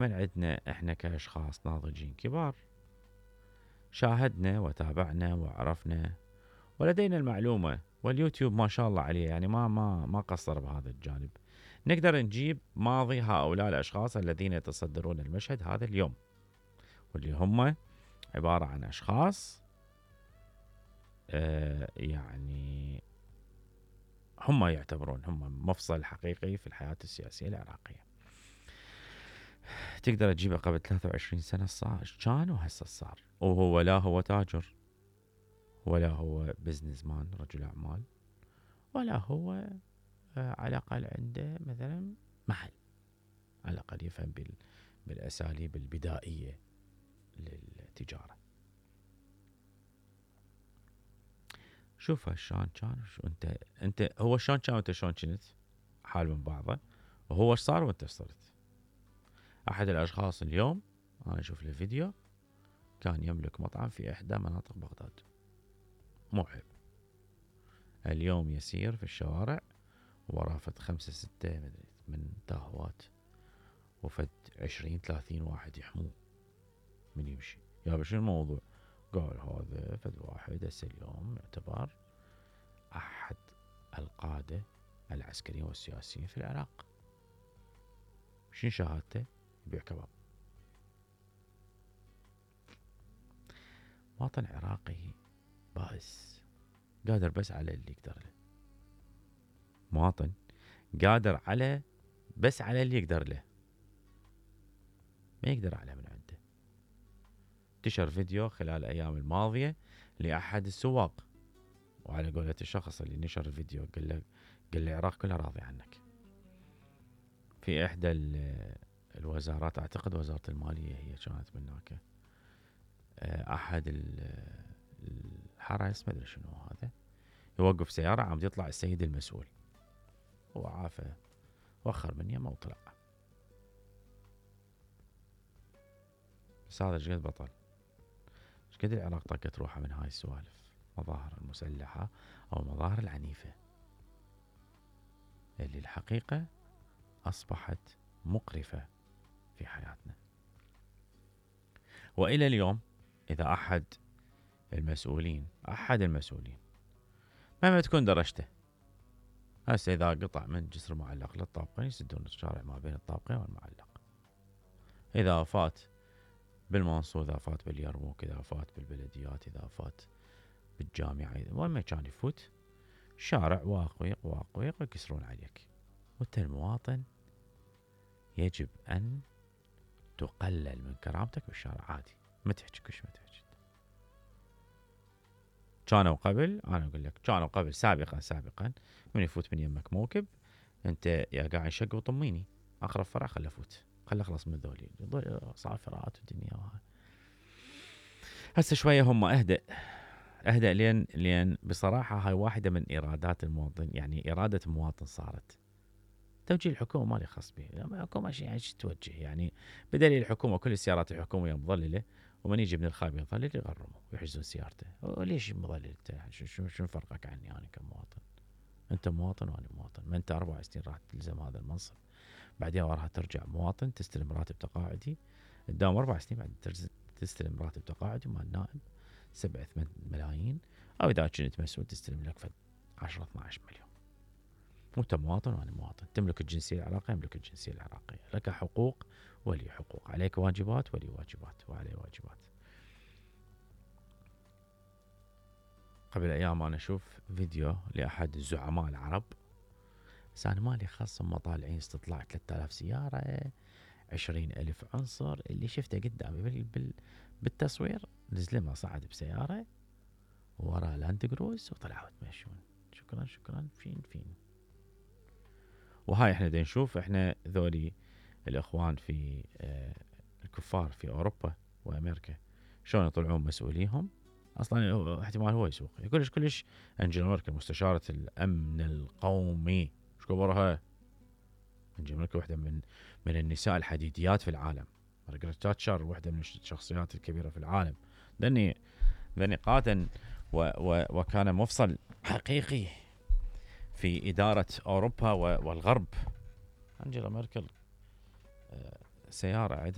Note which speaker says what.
Speaker 1: من عندنا احنا كاشخاص ناضجين كبار شاهدنا وتابعنا وعرفنا ولدينا المعلومة، واليوتيوب ما شاء الله عليه يعني ما قصر بهذا الجانب. نقدر نجيب ماضي هؤلاء الاشخاص الذين يتصدرون المشهد هذا اليوم، واللي هم عبارة عن اشخاص يعني هم يعتبرون هم مفصل حقيقي في الحياة السياسية العراقية. تقدر تجيبه قبل 23 سنة كان وهسه صار، وهو لا هو تاجر ولا هو بزنس مان رجل أعمال ولا هو على الأقل عنده مثلا محل، على الأقل يفهم بالأساليب البدائية للتجارة. شوف شلون كان، شو انت هو شلون كان وانت شلون كنت، حال من بعضه، وهو ايش صار وانت ايش صرت. احد الاشخاص اليوم انا اشوف له فيديو كان يملك مطعم في احدى مناطق بغداد، مو عيب. اليوم يسير في الشوارع وراه فد 5 6 من تاهوات وفد 20 30 واحد يحموه من يمشي. يا شنو الموضوع؟ قال هذا فد واحد هسه اليوم يعتبر احد القادة العسكريين والسياسيين في العراق. شنو شهادته؟ يبيع كباب. مواطن عراقي بائس قادر بس على اللي يقدر له، مواطن قادر على بس على اللي يقدر له، ما يقدر على من عنده. انتشر فيديو خلال الأيام الماضية لأحد السواق، وعلى قولة الشخص اللي نشر الفيديو قال له العراق كلها راضي عنك. في إحدى الوزارات، أعتقد وزارة المالية هي كانت من هناك، أحد الحرس ما أدري شنو هذا يوقف سيارة عم يطلع السيد المسؤول، هو عافى وخر من يمه وطلع. بس هذا شقد بطل، شقد العراق طقت روحها من هاي السوالف، مظاهر المسلحة أو المظاهر العنيفة اللي الحقيقة أصبحت مقرفة في حياتنا. وإلى اليوم إذا أحد المسؤولين مهما تكون درجته، هسه إذا قطع من جسر معلق للطابقين يسدون الشارع ما بين الطابقين والمعلق، إذا فات بالمنصور، إذا فات باليرموك، إذا فات بالبلديات، إذا فات بالجامعة، وين ما كان يفوت شارع واقويق ويكسرون عليك. وانت المواطن يجب أن تقلل من كرامتك بالشارع عادي، ما تحكي كش ما تحكي. كانوا قبل، أنا أقول لك كانوا قبل سابقا من يفوت من يمك موكب أنت يا قاعد شق وطميني، أقرب فرع خله أفوت، خله أخلص من ذولي صافرات والدنيا وهاي. هسه شوية هم أهدأ لين بصراحة هاي واحدة من إرادات المواطن، يعني إرادة المواطن صارت. توجيه الحكومة مالي خاص به، الحكومة شيء يعني توجه يعني بدليل الحكومة كل السيارات الحكومية مظللة، ومن يجي من الخارج يظلل يغرمه ويحجزون سيارته. ليش مظلل انت؟ شنو فرقك عني انا كمواطن؟ انت مواطن وانا مواطن، ما انت 4 سنين راح تلزم هذا المنصب، بعدين وراها ترجع مواطن تستلم راتب تقاعدي، قدام 4 سنين بعد تستلم راتب تقاعدي مال نائب 7 8 ملايين، او اذا كنت مسؤول تستلم لك 10 12 مليون. وانت مواطن وانا مواطن، تملك الجنسية العراقية يملك الجنسية العراقية، لك حقوق ولي حقوق، عليك واجبات ولي واجبات وعليه واجبات. قبل ايام انا اشوف فيديو لاحد الزعماء العرب، بس انا مالي خاص، هم طالعين استطلاع 3000 سيارة 20,000 عنصر، اللي شفته قدامي بالتصوير نزلمه صعد بسيارة ورا لاند كروز وطلعوا يتمشون. شكرا فين. وهاي احنا دا نشوف احنا ذولي الاخوان في الكفار في اوروبا وامريكا شلون يطلعون مسؤوليهم. اصلا احتمال هو يسوق كلش انجيلا ميركل مستشارة الامن القومي، ايش كبرها انجيلا ميركل، واحدة من النساء الحديديات في العالم. مارغريت تاتشر واحدة من الشخصيات الكبيرة في العالم، ذني قادا وكان مفصل حقيقي في إدارة أوروبا والغرب. أنجيلا ميركل سيارة